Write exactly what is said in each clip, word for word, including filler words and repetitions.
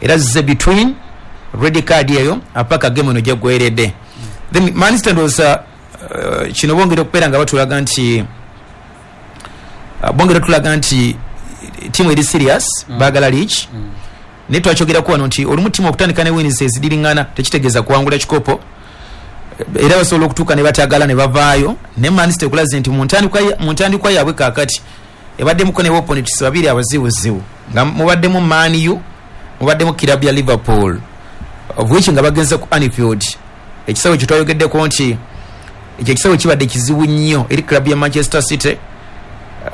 Era zize between red card eyo apaka game eno gyeggweredde. Then Man City, ndowooza uh, kino bongera okubeera nga batulaga nti uh, bongera otulaga nti tiimu eri serious, mm. baagala league mm. Naye twakyogerako wano nti olumu tiimu okutandika ne wins ezidiriŋŋana tekitegeeza kuwangula kikopo. Era basobola okutuuka ne batagala ne bavaayo. Ne Man City ekulaze nti mu ntandikwa yaabwe kaakati ebaddemuko ne opponents babiri abazibuzibu, nga mubaddemu Man U, mubaddemu kirabu ya Liverpool, of which nga bagenze ku Anfield, ekisawe ekyo twayogeddeko nti ekyo ekisawe kibadde kizibu nnyo eri club ya Manchester City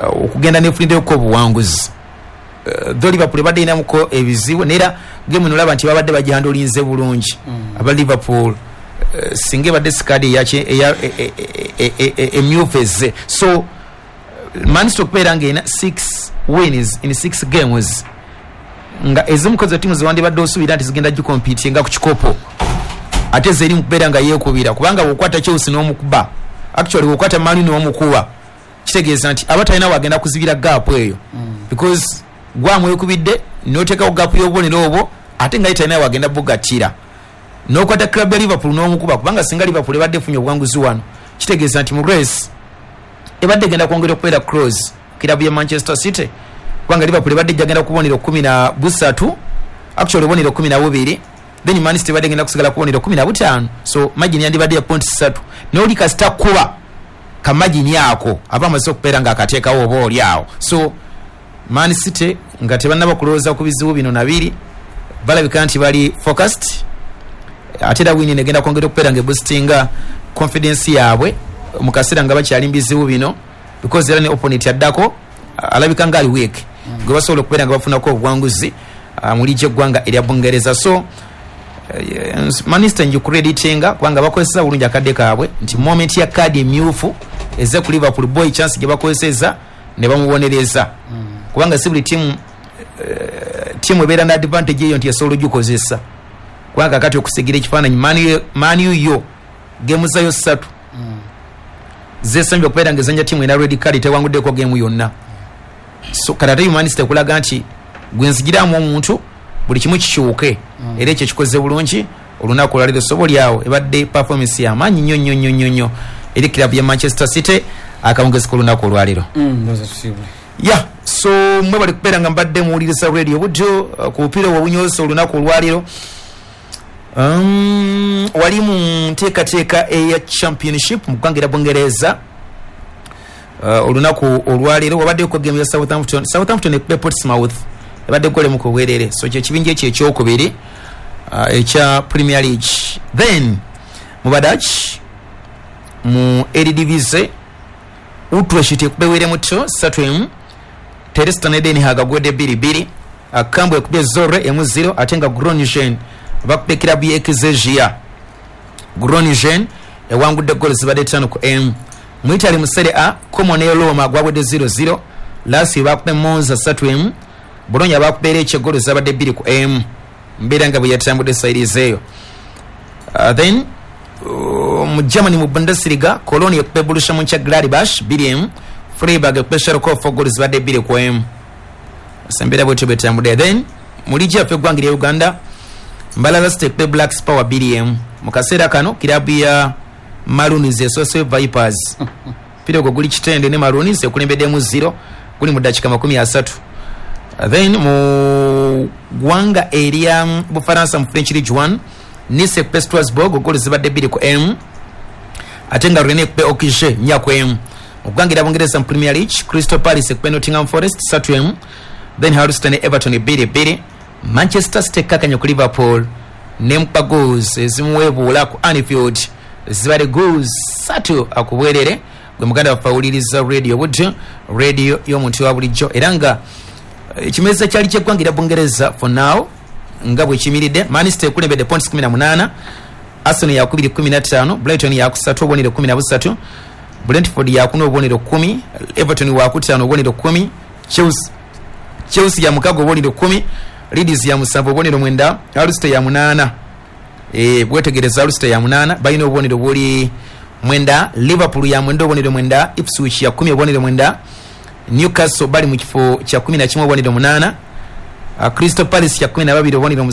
uh, okugenda nefuniddeoko obuwanguzi. uh, though Liverpool ebadde erinamuko ebizibu, neera game nolaba nti babadde bagihandlinze bulungi mm. aba Liverpool, uh, singa ebadde sikaadi emyufu ezze. So Man City okubeera nga erina six wins in six games, nga ezimu kozo tiimu zewandibadde osuubira nti zigenda gicompetinga ku kikopo, ate zeri mukubeera nga yeekubira, kubanga bwokwata Chelsea n'omukuba, actually bwokwata Man U n'omukuba, kitegeeza nti aba talina wagenda kuzibira gap eyo mm. because gwamwekubidde noteekawo gap y'obubonero obwo, ate nga ye talina wagenda bugattira. N'okwata club ya Liverpool n'omukuba, kubanga singa Liverpool ebadde efunye obuwanguzi wano, kitegeeza nti mu race ebadde egenda kwongera okubeera close kirabu ya Manchester City, kubanga Liverpool ebadde ejjagenda ku bubonero kumi na busatu, actually obubonero kumi na bubiri, then Man City ebadde egenda kusigala ku bubonero kumi na butaano. So margin yandibadde ya points ssatu. Naye oli kasita kuba ka margin ako, aba amaze okubeera nga akateekawo oba oli awo. So Man City nga tebannaba kulowooza ku bizibu bino nabiri, balabika nti bali focused. Ate era win negenda kwongera okubeera nga eboostinga confidence yaabwe mu kaseera nga bakyali mu bizibu bino, because era ne opponent addako alabika nga ali weak gwe basobola okubeera nga bafunako obuwanguzi uh, mu liigi eggwanga erya Bungereza. So Man City ngicreditinga kubanga bakozesa bulungi akadde kaabwe, nti moment ya kaadi emyufu eze ku Liverpool boy, chance gye bakozeseza ne bamubonereza, kubanga si buli tiimu eh, tiimu ebeera ne advantage eyo nti esobola ogikozesa. Kubanga kakati okusigira ekifaananyi, Man U yo game zayo ssatu zesembye okubeera nga ezanya tiimu erina red card, tewanguddeko game yonna. So kati ate Man City ekulaga nti gwenzigiramu omuntu buli kimu kikyuke, era ekyo kikoze bulungi olunaku olwaleero. Soba oliawo ebadde performance yamaanyi nnyo nnyo nnyo nnyo nnyo eri club ya Manchester City akawungezi k'olunaku olwaleero. Ndowooza tusiibule. Ya, so mwe bali kubeera nga mbadde muwuliriza Radio Buddo uh, ku bupiira obwo obunyoosa olunaku olwaleero. um, wali mu nteekateeka eya Championship mu ggwanga erya Bungereza, uh, olunaku olwaleero wabaddeko game ya Southampton. Southampton ekube Portsmouth, ebadde golemu ku bwerere. So kyekibinja ekyo ekyokubiri uh, ekya Premier League. Then mu Badutch, mu Eredivisie, Utrecht ekube muto satu emu, Telstar ne Den Haag gwedde bbiri bbiri, Cambuur ekubye Zwolle emu zero, ate nga Groningen bakubye kirabu ye Excelsior. Groningen ewangudde golo zibadde ttaano ku emu. Mu Italy, mu Serie A, Como ne Roma gwabwedde zero zero, Lazio bakubye Monza satu emu, Bologna bakubye Lecce golo zabadde bbiri ku emu. Mbeera nga bwe yatambudde side eyo. uh, then uh, mu Germany, mu Bundesliga, Cologne ekubye Borussia Mönchengladbach bbiri emu, Freiburg ekubye Schalke four golo zibadde bbiri ku emu. Embeera bwetyo bwetambudde. Then mu liigi yaffe eggwanga erya Uganda, Mbarara City ekubye Black Power bbiri emu. Mu kaseera kano kirabu ya Maroons esoose Vipers. Mpira ogwo guli Kitende ne Maroons ekulembeddemu zero, guli mu ddakiika makumi asatu. Then mu ggwanga erya Bufaransa, mu French League one, Nice ekube Strasbourg golo zibadde bbiri ku emu, ate nga Rennes ekube Auxerre nnya ku emu. Mu ggwanga erya Bungereza, mu Premier League, Crystal Palace ekube Nottingham Forest satu emu, then Hull City ne Everton bbiri bbiri. Manchester City ekkakanya ku Liverpool nemukuba goals ezimuweebuula ku Anfield, zibadde goals satu akubwerere. Gwe muganda waffe awuliriza Radio Buddo, radio y'omuntu wa bulijjo, era nga ekimeza kyali kyeggwanga erya Bungereza for now nga bwe kiyimiridde: Man City ekulembedde points kumi na munaana, Arsenal yakubiri kumi na ttaano, Brighton yakusatu obubonero kumi na busatu, Brentford yakuna obubonero kumi, Everton wakutaano obubonero kumi, Chelsea Chelsea ya mukaga obubonero kumi, Leeds ya musanvu obubonero mwenda, Hull City ya munaana. e, bwetegereza Hull City ya munaana, balina obubonero buli mwenda. Liverpool ya mwenda obubonero mwenda, Ipswich ya kumi obubonero mwenda, Newcastle bali mu kifo kya kumi na kimu obubonero munaana, uh, Crystal Palace kya kumi na babiri obubonero.